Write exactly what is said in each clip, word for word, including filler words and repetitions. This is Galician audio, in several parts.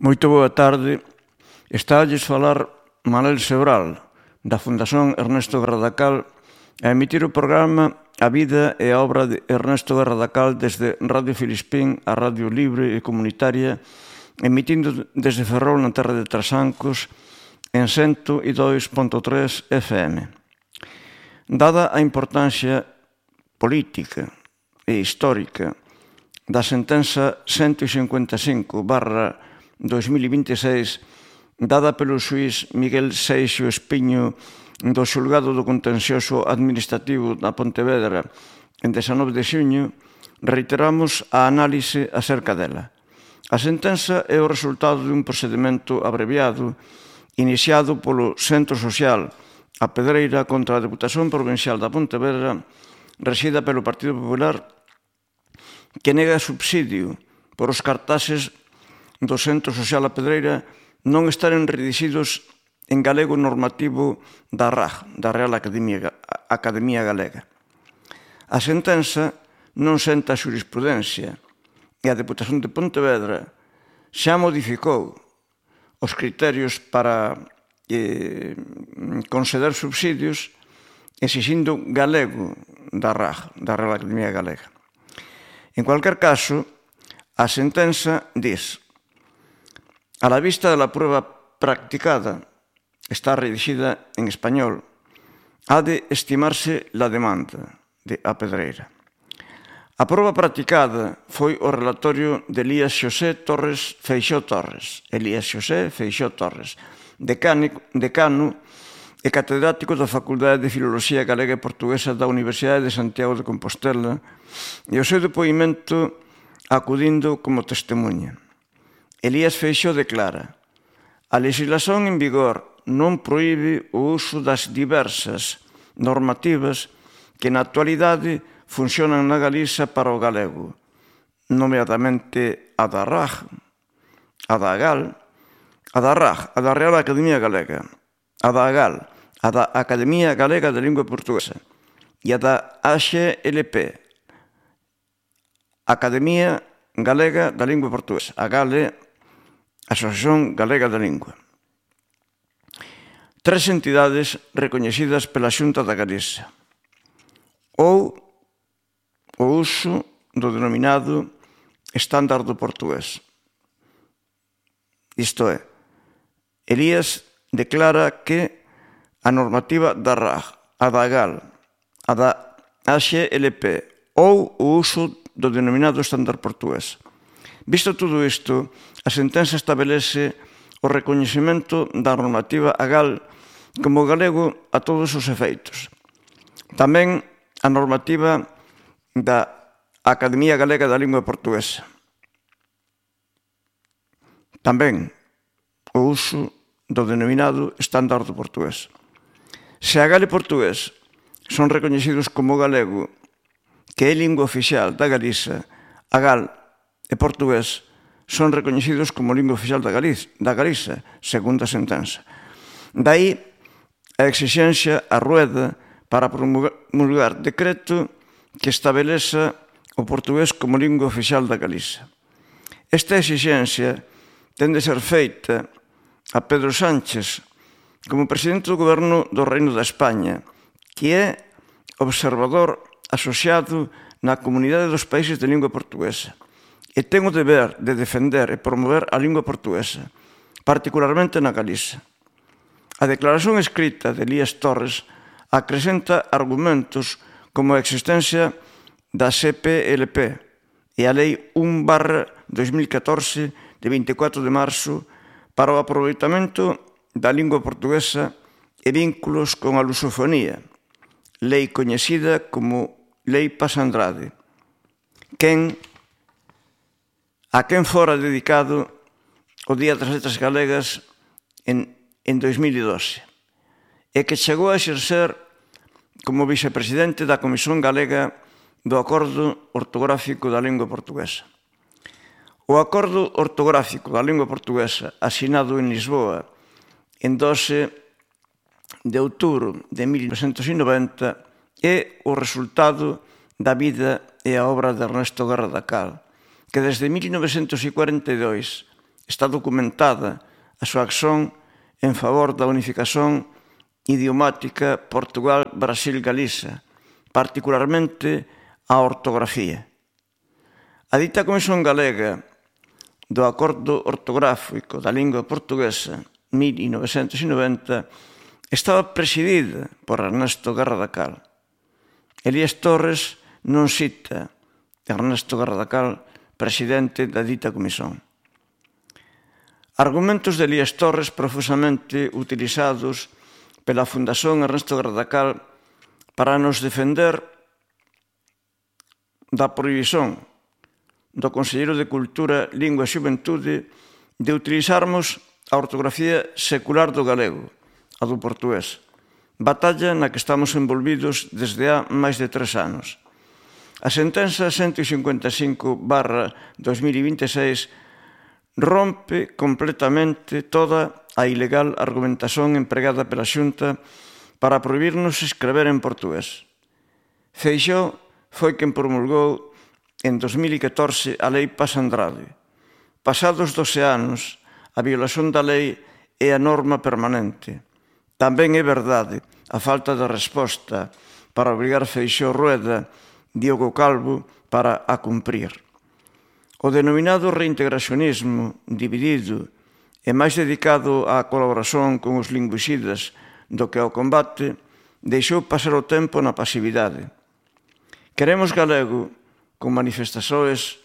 Moito boa tarde. Estalles falar Manel Sebral, da Fundación Ernesto Garradacal, a emitir o programa A vida e a obra de Ernesto Garradacal desde Radio Filispín a Radio Libre e Comunitaria, emitindo desde Ferrol na terra de Trasancos en cento e dois punto tres F M. Dada a importancia política e histórica da sentenza ciento cincuenta e cinco barra dos mil e vinte e seis dada pelo xuiz Miguel Seixo Espiño do Xulgado do Contencioso Administrativo da Pontevedra en dezanove de xuño, reiteramos a análise acerca dela. A sentenza é o resultado dun procedimento abreviado iniciado polo Centro Social A Pedreira contra a Deputación Provincial da Pontevedra, rexida pelo Partido Popular, que nega subsidio por os cartaxes do Centro Social A Pedreira non estaren redixidos en galego normativo da R A G, da Real Academia, Academia Galega. A sentenza non senta a xurisprudencia e a Deputación de Pontevedra xa modificou os criterios para eh, conceder subsidios exixindo galego da R A G, da Real Academia Galega. En cualquier caso, a sentenza diz: a la vista de la prueba practicada, está redigida en español, ha de estimarse la demanda de A Pedreira. A proba practicada foi o relatorio de Elías Xosé Torres Feixó Torres, Elías Xosé Feixó Torres, decano e catedrático da Facultade de Filoloxía Galega e Portuguesa da Universidade de Santiago de Compostela, e o seu depoimento acudindo como testemunha. Elías Feixó declara: a legislación en vigor non proíbe o uso das diversas normativas que na actualidade funcionan na Galiza para o galego, nomeadamente a da R A G, a da GAL, a da R A G, a da Real Academia Galega, a da GAL, a da Academia Galega de Lingua Portuguesa e a da A X L P, Academia Galega da Lingua Portuguesa, a GALE, Asociación Galega da Lingua. Tres entidades recoñecidas pela Xunta da Galiza, ou o uso do denominado estándar do portugués. Isto é, Elías declara que a normativa da R A G, a da GAL, a da A X L P ou o uso do denominado estándar portugués. Visto todo isto, a sentenza establece o recoñecemento da normativa a GAL como galego a todos os efeitos. Tamén a normativa da Academia Galega da Lingua Portuguesa. Tamén o uso do denominado estándar do portugués. Se a GAL e portugués son recoñecidos como galego, que é lingua oficial da Galiza, a GAL e portugués son recoñecidos como lingua oficial da Galiza, da Galiza, segundo a sentenza. Daí a exixencia a rueda para promulgar decreto que estabeleza o portugués como lingua oficial da Galiza. Esta exixencia ten de ser feita a Pedro Sánchez como presidente do Goberno do Reino da España, que é observador asociado na Comunidade dos Países de Lingua Portuguesa e ten o deber de defender e promover a lingua portuguesa, particularmente na Galiza. A declaración escrita de Elías Torres acrescenta argumentos como a existencia da C P L P e a Lei un barra dos mil catorce de vinte e catro de marzo para o aproveitamento da lingua portuguesa e vínculos con a lusofonía, lei coñecida como Lei Paz Andrade, quen, a quen fora dedicado o Día das Letras Galegas en en dos mil doce, e que chegou a exercer como vicepresidente da Comisión Galega do Acordo Ortográfico da Lingua Portuguesa. O Acordo Ortográfico da Lingua Portuguesa, asinado en Lisboa en doce de outubro de mil novecentos e noventa, é o resultado da vida e a obra de Ernesto Garradacal, que desde mil novecentos cuarenta e dous Está documentada a súa acción en favor da unificación idiomática Portugal-Brasil-Galiza, particularmente a ortografía. A dita Comisión Galega do Acordo Ortográfico da Lingua Portuguesa mil novecentos noventa estaba presidida por Ernesto Garradacal. Elías Torres non cita Ernesto Garradacal, presidente da dita comisión. Argumentos de Elías Torres profusamente utilizados pela Fundación Ernesto Garradacal para nos defender da prohibición do Conselleiro de Cultura, Lingua e Xuventude de utilizarmos a ortografía secular do galego, a do portugués, batalla na que estamos envolvidos desde há máis de tres anos. A sentenza ciento cincuenta e cinco barra dos mil vinte e seis rompe completamente toda a ilegal argumentación empregada pela Xunta para prohibirnos escrever en portugués. Feixóo foi quen promulgou en dos mil catorce a Lei Paz Andrade. Pasados doce anos, a violación da lei é a norma permanente. Tamén é verdade a falta de resposta para obrigar Feixóo Rueda, Diogo Calvo, para a cumprir. O denominado reintegracionismo dividido e máis dedicado á colaboración con os lingüicidas do que ao combate, deixou pasar o tempo na pasividade. Queremos galego, con manifestações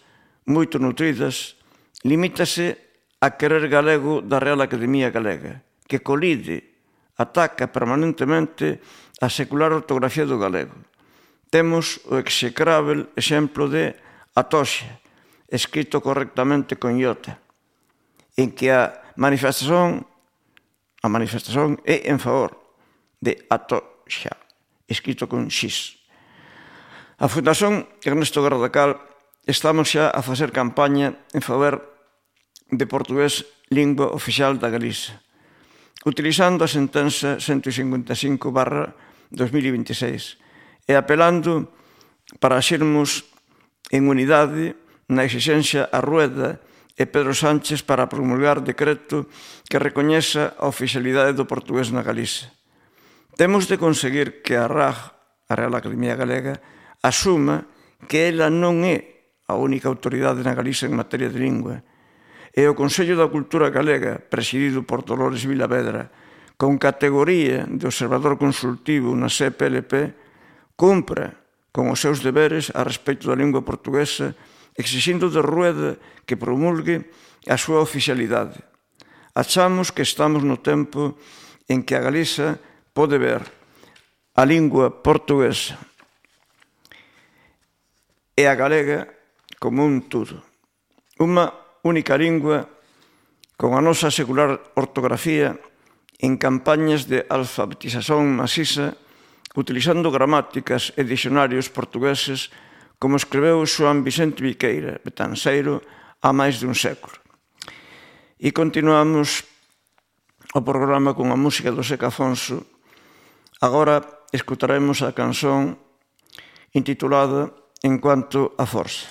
moito nutridas, limítase a querer galego da Real Academia Galega, que colide, ataca permanentemente a secular ortografía do galego. Temos o execrável exemplo de Atoxa, escrito correctamente con iota, en que a manifestación, a manifestación é en favor de Atoxa, escrito con X. A Fundación Ernesto Garradacal estamos xa a facer campaña en favor de portugués lingua oficial da Galiza, utilizando a sentenza ciento cincuenta e cinco barra dos mil vinte e seis e apelando para xermos en unidade na exigencia a Rueda e Pedro Sánchez para promulgar decreto que recoñeza a oficialidade do portugués na Galiza. Temos de conseguir que a R A G, a Real Academia Galega, asuma que ela non é a única autoridade na Galiza en materia de lingua, e o Consello da Cultura Galega, presidido por Dolores Vilavedra, con categoría de observador consultivo na C P L P, cumpra con os seus deberes a respecto da lingua portuguesa, exixindo de Rueda que promulgue a súa oficialidade. Achamos que estamos no tempo en que a Galiza pode ver a lingua portuguesa e a galega como un todo. Unha única lingua con a nosa secular ortografía en campañas de alfabetización maciza, utilizando gramáticas e dicionarios portugueses como escreveu Xoán Vicente Viqueira, betanceiro, há máis de un século. E continuamos o programa con a música do Seca Afonso. Agora escutaremos a canción intitulada En cuanto a forza.